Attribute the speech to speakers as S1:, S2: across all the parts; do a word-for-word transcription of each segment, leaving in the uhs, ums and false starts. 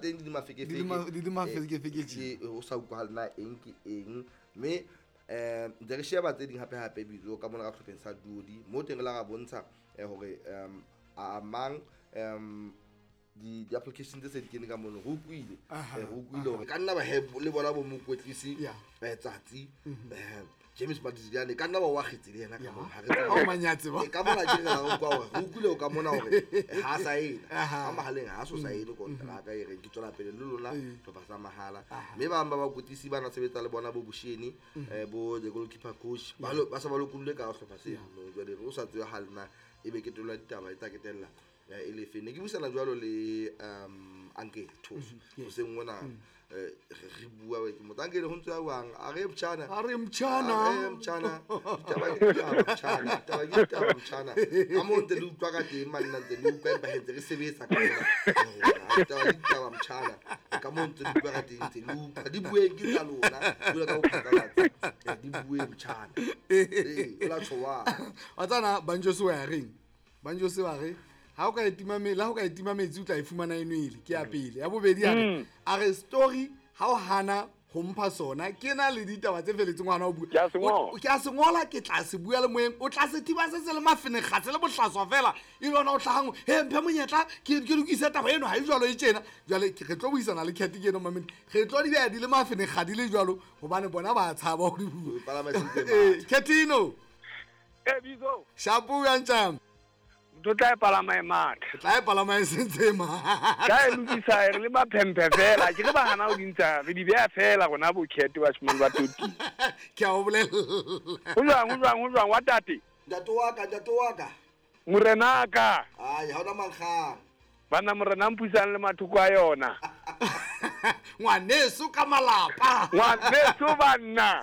S1: Teng di le mafekefeke.
S2: Di le ma- di le mafekefeke tje.
S1: Eh, o sa utlwahale na eng ke eng, mme um ntse re sheba tse ding hape-hape bitso ka mona ka sehlopheng sa Duodi, mo teng re la ra bontsha eh, hore um a mang um di di-application tse se di kene ka mono. Re utlwile,
S2: Aha,
S1: eh, re utlwile hore ka nna ba he le bona bo mokwetlisi
S2: Yeah.
S1: eh, tsatsi eh, James Madidiane ka nna ba o akgetse le yena ka mona. Ha re
S2: Ha o manyatse ba.
S1: Eh, ka mona ke re ra utlwa hore re utlwile ka mona hore eh, ha sa ena
S2: Aha.
S1: ka mahaleng, ha so saene kontraka e reng ke tswela pele le lona
S2: Ee.
S1: hlopha sa mahala.
S2: Aha.
S1: Mme ba bang ba bakwetlisi ba na sebetsa le bona bo Bosheni, eh, bo the goalkeeper coach ba lo- ba sa ba lokollwe ka hlopha seno. Jwale o sa tsebe ha lena ebe ketelo ya ditaba e tla ketella eh, e lefe. Ne ke buisana jwalo le um Uncle Thoso hoseng mona, eh, re re bua ke motho Uncle ho ntse a buang a re mtjhana,
S2: A re mtjhana.
S1: A re mtjhana, ditaba ke ditaba mtjhana, ditaba ke ditaba mtjhana, ka moo ntse le utlwa ka teng manna, ntse le utlwa empa he ntse re sebetsa ka mona. Ditaba ke ditaba mtjhana, ka moo ntse le utlwa ka teng, ntse le utlwa di bueng ke tsa lona jwalo ka bophatlalatsi. Eh, di bueng mtjhana, ee o la tjho wa
S2: Wa tsana Banjo se wa reng, Banjo se wa re ha o ka e tima me- le ha o ka e tima metsi o tla e fumana e nwele. Ke ya pele. Ya bobedi a re, a re story ha o hana ho mpha sona, ke na le ditaba tse felletseng ho hana ho bua.
S3: Ke a se ngola.
S2: O- ke a se ngola, ke tla se bua le moyeng, o tla se thiba se se le mafenekga, se le bohlaswa fela, e le ona o hlahang, he mphe monyetla ke ke lokise taba eno, ha e jwalo e tjena. Jwale ke- re tlo buisana le Cat ke eno mamedi, re tlo di beha di le mafenekga di le jwalo, hobane bona ba tshaba ho di bua.
S1: O palama se ntse
S2: Eh,
S1: matha.
S2: Catino.
S3: Eh, Bizo.
S2: Shapo ya ntjang?
S3: Ntho tla e palama e matha.
S2: Tla e palama e sentse e matha.
S3: Tla e lokisa, re le maphemphe fela. Ke re ba hana ho di ntsha, re di beha fela rona bo Cat bashimane ba toti.
S2: Ke a o bolella.
S3: Ho jwang, ho jwang, ho jwang wa tate?
S1: Ntate wa ka, ntate wa ka.
S3: Morenaka.
S1: Ai, ha ona mankgang.
S3: Banna morena mpusang le mathoko a yona.
S2: Ngwaneso ka malapa.
S3: Ngwaneso banna.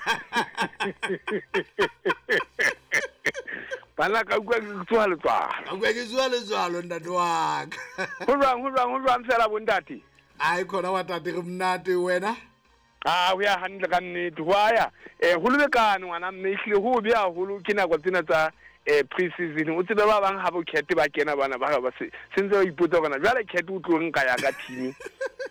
S3: Banna ka utlwa ke tsoha letswalo.
S2: Ka utlwa ke tsoha letswalo ntate wa ka.
S3: Ho jwang, ho jwang, ho jwang fela bo ntate?
S2: Ai, khona wa tate re monate wena.
S3: Ah, ho ya hantle ka nnete. Ho a ya. Eh, ho lebekane ngwana mme, ehlile ho be haholo ke nako tsena tsa, eh, pre-season. O tsebe ba bang ha bo Cat ba kena bana ba ba se, se ntse ba ipotsa hore na jwale Cat o tlo nka ya ka team.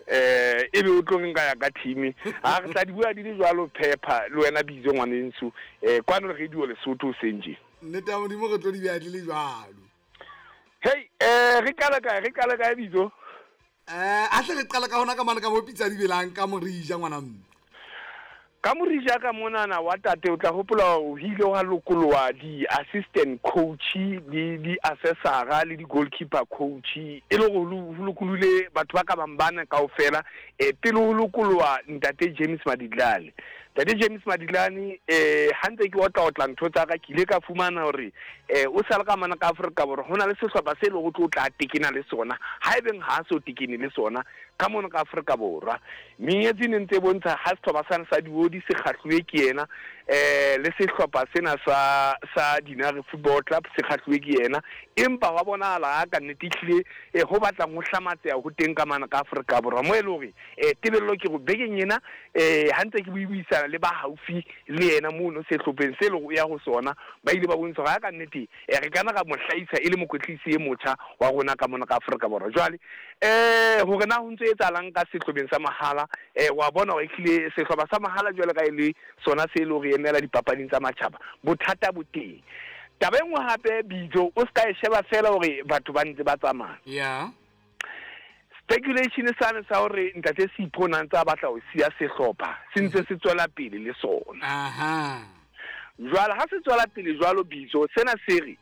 S3: Eh, ebe o tlo nka ya ka team. Ha re tla di bua di le jwalo Pepper le wena Bizo ngwanenso. Eh, kwano radio Lesotho senje.
S2: Nnete ya Modimo re tlo di beha di le jwalo.
S3: Hey, eh, re qala kae, re qala kae Bizo?
S2: Eh, a tle re qala ka hona ka mane ka bo pitsa di belang ka morija ngwana mme.
S3: Ka morija ka monana wa tate, o tla hopola o hile wa lokoloha di-assistant coach le di-assessora le di-goalkeeper coach, e le hore ho lokolohile batho ba ka bang bana kaofela. Eh, pele ho lokoloha ntate James Maditlane. Ntate James Maditlane, eh, ha ntse ke otla otla ntho tsa ka, ke ile ka fumana hore, eh, o sale ka mona ka Afrika Borwa, ho na le sehlopha se leng ho tlo tla tekena le sona, haebeng ha so tekene le sona ka mona ka Afrika Borwa. Menyetsi ne ntse e bontsha ha sehlopha sane sa Diodi se kgahluwe ke yena, eh, le sehlopha sena sa, sa Dinare Football Club se kgahluwe ke yena, empa wa bonahala ha ka nnete ehlile, eh, ho batlang ho hlamatseha ho teng ka mane ka Afrika Borwa, mo e leng hore, eh, tebello ke hore bekeng ena, eh, ha ntse ke buisana le ba haufi le yena mono sehlopheng se leng ho ya ho sona, ba ile ba bontsha hore ha ka nnete, eh, re kana ra mo hlahisa e le mokwetlisi e motjha wa rona ka mona ka Afrika Borwa. Jwale, eh, hore na ho ntse etsahalang ka sehlopheng sa mahala, eh, wa bona hore ehlile sehlopha sa mahala jwale ka e le sona se leng hore emela dipapading tsa matjhaba, bothata bo teng. Taba e nngwe hape Bizo, o ska e sheba fela hore batho ba ntse ba tsamaya.
S2: Yeah.
S3: Speculation sane sa hore ntate Sipho na ntse a batla ho siya sehlopha, se ntse se tswela pele le sona.
S2: Aha.
S3: Jwale ha se tswela pele jwalo Bizo, sena se re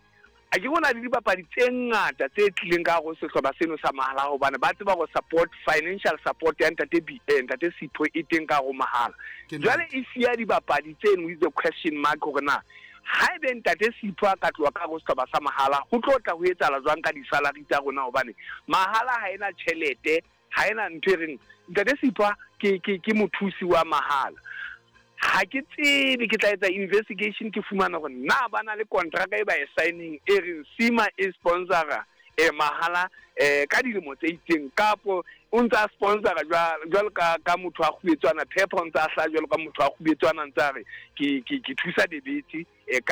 S3: a ke bona le dibapadi tse ngata tse tlileng ka hare ho sehlopha seno sa mahala, hobane ba tseba hore support, financial support ya ntate B, eh, ntate Sipho e teng ka hare ho mahala.
S2: Ke
S3: Jwale
S2: nnete.
S3: e siya dibapadi tseno with the question mark hore na haebe ntate Sipho a ka tloha ka hare ho sehlopha sa mahala, ho tlo tla ho etsahala jwang ka di-salary tsa rona, hobane mahala ha ena tjhelete, ha ena ntho e reng ntate Sipho ke, ke, ke mothusi wa mahala. Ha ke tsebe, ke tla etsa investigation ke fumana hore na ba na le contract e ba e signing e reng Sima e sponsora, eh, mahala, eh, ka dilemo tse itseng, kapo o ntse a sponsora jwa-, jwalo ka, ka motho a kgubetswana, Pepper o ntse a hlaha jwalo ka motho a kgubetswana, ntse a re ke, ke, ke thusa debete, eh, ka